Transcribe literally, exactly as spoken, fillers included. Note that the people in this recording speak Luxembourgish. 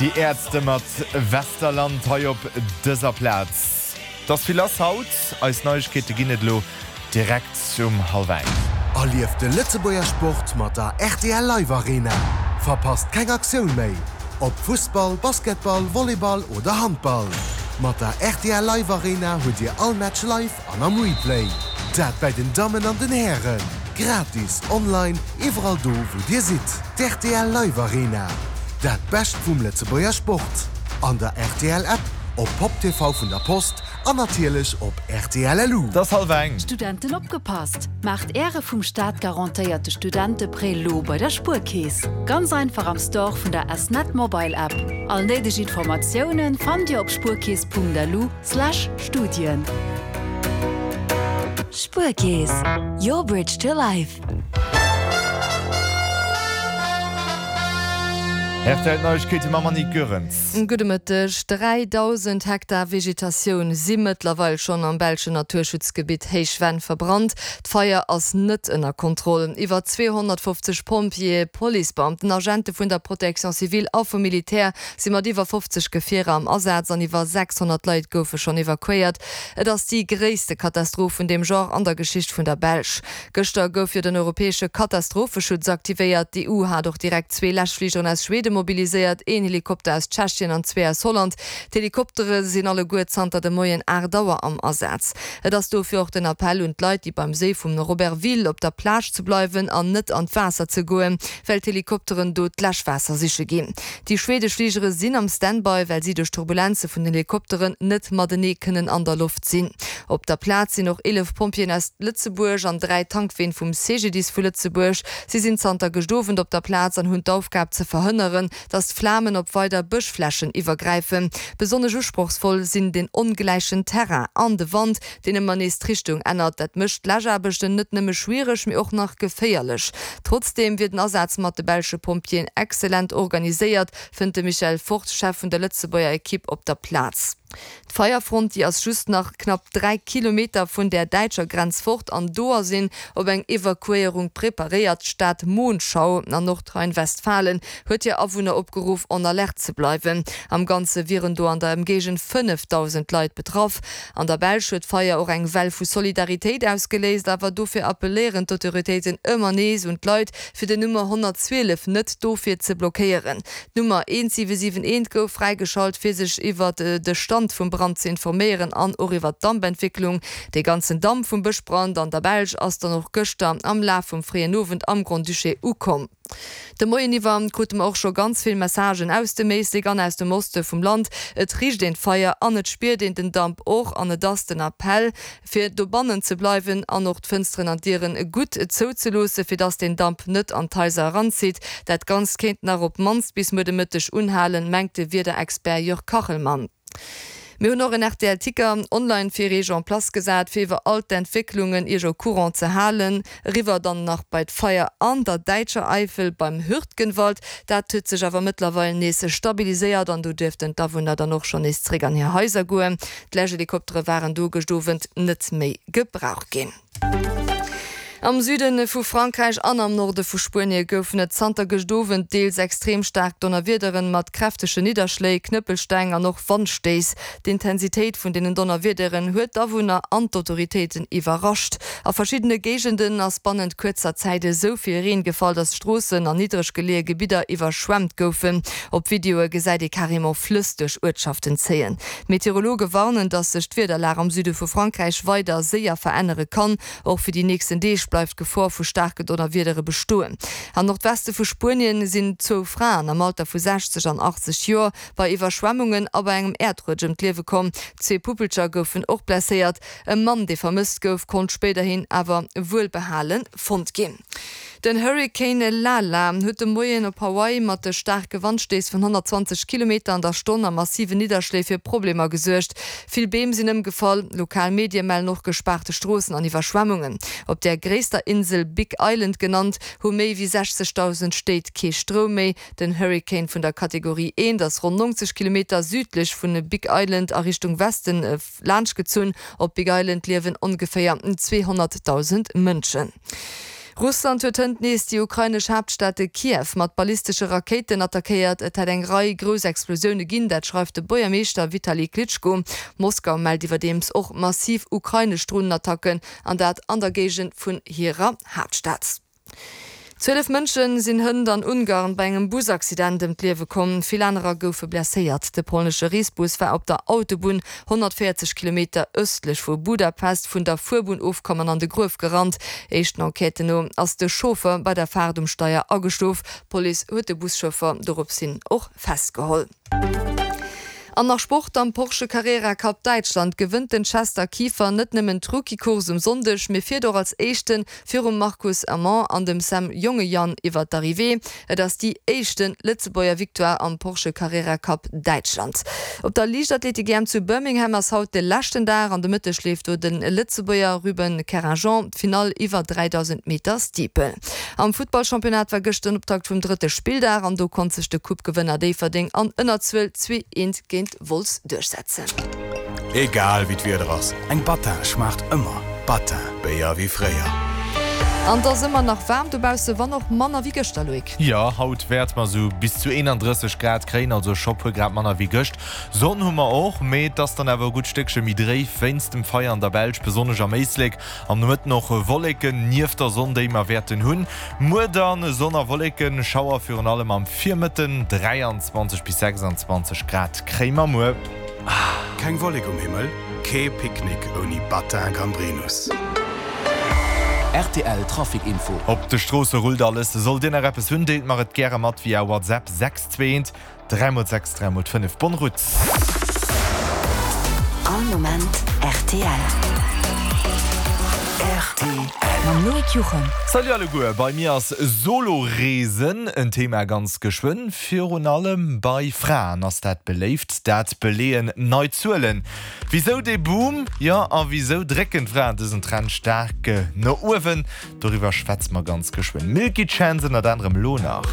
Déi Ärzte mat Westerland hei op dëser Plaz. Et ass vill lass haut, eis Neiegkeete ginn et elo direkt um hallwer eng. Erlieft de Lëtzebuerger Sport mat der rtl Live Arena. Verpasst keng Aktioun méi! Ob Fussball, Basketball, Volleyball oder Handball. Mat der rtl Live Arena hutt Dir all Match live an am Replay. Dat bei den Dammen an den Hären. Gratis, online, iwwerall do wou Dir sidd. D'rtl Live Arena. Dat Bescht vum Lëtzebuerger Sport. An der rtl App, op Pop TV vun der Post an natierlech op rtl LU. Et ass hallwer eng. Studenten opgepasst! Maacht Äre vum Staat garantéierte Studenteprêt lo bei der Spuerkeess. Ganz einfach am Store vun der S-Net Mobile App. All néideg Informatiounen fannt Dir op spuerkeess.lu slash Studien. Spuerkeess, your bridge to life. Rtl Neiegkeete mam Annick Goerens. Gudde Mëtteg. Dräidausend Hektar Vegetatioun si mëttlerweil schonn am belschen Naturschutzgebitt Héichvenn verbrannt. D'Feier ass net ënner Kontroll. Iwwer zweehonnertfofzeg Pompjeeë, Policebeamten, Agente vun der Protection civile a vum Militär si mat iwwer fofzeg Gefierer am Asaz an iwwer sechshonnert Leit goufe schonn evakuéiert. Et ass déi gréisste Katastroph vun deem Genre an der Geschicht vun der Belsch. Gëschter gouf jo den europäesche Katastropheschutz aktivéiert. D'EU hat och direkt zwee Läschfligeren aus Schweden mobiliséiert, een Helikopter aus Tschechien an zwee aus Holland. D'Helikoptere sinn alleguer zanter de Moien aacht Auer am Asaz. Et ass dofir och den Appell un d'Leit, déi beim Séi vum Robertville op der Plage ze bleiwen an net an d'Waasser ze goen, well d'Helikopteren do d'Läschwaasser siche ginn. Déi schwedesch Fligere sinn am Standby, well si duerch Turbulenze vun den Helikopteren net matenee kënnen an der Loft sinn. Op der Plaz sinn och eelef Pompjeeën aus Lëtzebuerg an dräi Tankween vum C G D I S vu Lëtzebuerg. Si sinn zanter gëscht Owend op der Plaz an hunn d'Aufgab ze verhënneren, datt d'Flamen op weider Bëschflächen iwwergräifen. Besonnesch usprochsvoll sinn den ongläichen Terrain an de Wand, deen ëmmer nees d'Richtung ännert. Dat mécht d'Läschaarbechten net nëmme schwiereg, mee och nach geféierlech. Trotzdeem wier den Asaz mat de belsche Pompjeeën exzellent organiséiert, fënnt de Michel Fort, Chef vun der Lëtzebuerger Ekipp op der Plaz. D'Feierfront, déi ass just nach knapp dräi Kilometer vun der däitscher Grenz fort an do ass een op eng Evakuéierung preparéiert. D'Stad Monschau an Nordrhein-Westfalen huet hir Awunner opgeruff, en alerte ze bleiwen. Am Ganze wieren do an der Ëmgéigend fënnefdausend Leit betraff. An der Belsch huet d'Feier och eng Well vu Solidaritéit ausgeléist, awer dofir appelléieren d'Autoritéiten ëmmer nees un d'Leit, fir den Nummer honnertzwielef net dofir ze blockéieren. D'Nummer eent siwe siwen eent gouf fräigeschalt, fir sech iwwer de Stand vum Brand ze informéieren an och iwwer d'Dampentwécklung. Dee ganzen Damp vum Bëschbrand an der Belsch ass dann och gëschter am Laf vum fréien Owend am Grand-Duché ukomm. De Moien iwwer krute mer och scho ganz vill Messagen aus dem Éislek an aus dem Oste vum Land. Et richt een d'Feier an et spiert een den Damp och an et ass den Appell, fir dobannen ze bleiwen an och d'Fënsteren an d'Dieren gutt zouzeloossen, fir dass den Damp net an d'Haiser eranzitt. Dat Ganzt kéint nach op d'mannst bis muer de Mëtteg unhalen, mengt de Wiederexpert Jörg Kachelmann. Mir hunn och en R T L Ticker online fir iech en place gesat, fir iwwer all d'Entwécklungen iech au courant ze halen. Eriwwer dann nach bei d'Feier an der däitscher Eifel beim Hürtgenwald. Dat huet sech awer mëttlerweil nees stabiliséiert an do duerften d'Awunner dann och schonn nees zeréck an hir Haiser goen. D'Läschhelikoptere waren do gëscht Owend net méi gebraucht ginn. Am Süde vu Frankräich an am Norde vu Spuenie goufen et zanter gëscht Owend deels extrem staark Donnerwiederen mat kräftege Nidderschléi, Knëppelsteng an och Wandstéiss. D'Intensitéit vun deenen Donnerwiederen huet d'Awunner an d'Autoritéiten iwwerrascht. A verschiddene Géigenden ass bannent kuerzer Zäit esou vill Reen gefall, datt Stroossen an niddreg geleeë Gebidder iwwerschwemmt goufen. Op Videoe gesäit ee carrément Flëss duerch Uertschaften zéien. D'Meteorologe warnen, datt sech d'Wiederlag am Süde vu Frankräich weider séier verännere kann. Och fir déi nächsten Deeg bleift d'Gefor vu staarke Donnerwiedere bestoen. Am Nordweste vu Spuenien sinn zwou Fraen am Alter vu sechzeg an achtzeg Joer bei Iwwerschwemmungen a bei engem Äerdrutsch ëm d'Liewe komm. Zwee Puppelcher goufen och blesséiert. E Mann, dee vermësst gouf, konnt spéiderhin awer wuelbehale fonnt ginn. Den Hurrikan Lala huet de Moien op Hawaii mat de staarke Wandstéiss vun honnertzwanzeg Kilometer an der Stonn a massiven Nidderschléi fir Problemer gesuergt. Vill Beem sinn ëmgefall. Lokal Medie mellen och gespaarte Stroossen an Iwwerschwemmungen. Op der gréisster Insel, Big Island genannt, hu méi wéi sechzegdausend Stéit kee Stroum méi. Den Hurrikan vun der Kategorie eent ass ronn neunzeg Kilometer südlech vun Big Island a Richtung Westen laanschtgezunn. Op Big Island liewen ongeféier zweehonnertdausend Mënschen. Russland huet hënt nees déi ukrainesch Haaptstad Kiew mat ballistesche Rakéiten attackéiert. Et hätt eng Rei grouss Explosioune ginn, dat schreift de Buergermeeschter Vitali Klitschko. Moskau mellt iwwerdeems och massiv ukrainesch Dronenattacken, an dat an der Géigend vun hirer Haaptstad. Zwielef Mënsche sinn hënt an Ungarn bei engem Busaccident ëm d'Liewe komm, vill anerer goufe blesséiert. De polnesche Reesbus war op der Autobunn honnertvéierzeg Kilometer ëstlech vu Budapest vun der Fuerbunn ofkomm an an de Gruef gerannt. Éischten Enquêten no ass de Chauffer bei der Faart um Steier ageschlof. D'Police huet de Buschauffer doropshin och festgeholl. An nach Sport, Am Porsche Carrera Cup Däitschland gewënnt den Chester Kieffer net nëmmen d'Rookie-Course um Sonndeg, mee fiert och als Éischten virum Marcus Amont an dem Sam Jongejan iwwer d'Arrivée. Et ass déi éischten Lëtzebuerger Victoire am Porsche Carrera Cup Däitschland. Op der Liichtathletik-EM zu Birmingham ass haut de leschten Dag. An de Mëtteg leeft do de Lëtzebuerger Ruben Kerrajean d'Finall iwwer dräidausend Meter Steeple. Am Futtballchampionnat war gëschter den Optakt vum drëtte Spilldag an do konnt sech de Coupe-Gewënner Déifferdeng an Ënnerzuel zwee eent géint Wolz duerchsetzen. Egal wéi d'Wieder ass, eng Battin schmaacht ëmmer. Battin, Béier wéi fréier. An et ass ëmmer nach waarm dobausse, wann och manner wéi gëschter, Loïc. Jo, haut wäerte mer sou bis zu eenandrësseg Grad kréien, also scho puer Grad manner wéi gëscht. Sonn hu mer och, mee et ass dann awer e gutt Stéckche méi dréif wéinst dem Feier an der Belsch, besonnesch am Éislek. Am Nomëtten och Wolleken nieft der Sonn, déi mer wäerten hunn. Muer dann Sonn a Wolleken, Schauer virun allem am Virmëtten, dräianzwanzeg bis sechsanzwanzeg Grad kréie mer muer. Keng Wollek um Himmel? Kee Picknick ouni Battin Gambrinus! Rtl Trafic Info. Op de Stroosse rullt alles. Sollt Dir nach eppes hunn, deelt mer et gäre mat via WhatsApp sechs zwee eent dräi mol sechs dräi mol fënnef. Bonne route! All Moment rtl. Rtl. Mam Loïc Juchem. Salut alleguer, bei mir ass Solo-Reesen en Thema ganz geschwënn. Virun allem bei Fraen ass dat beléift, dat beleeën nei Zuelen. Wisou dee Boom? Jo, a wisou drécken d'Fraen dësen Trend staark no uewen? Doriwwer schwätze mer ganz geschwënn. Milky Chance ënnert anerem lo nach.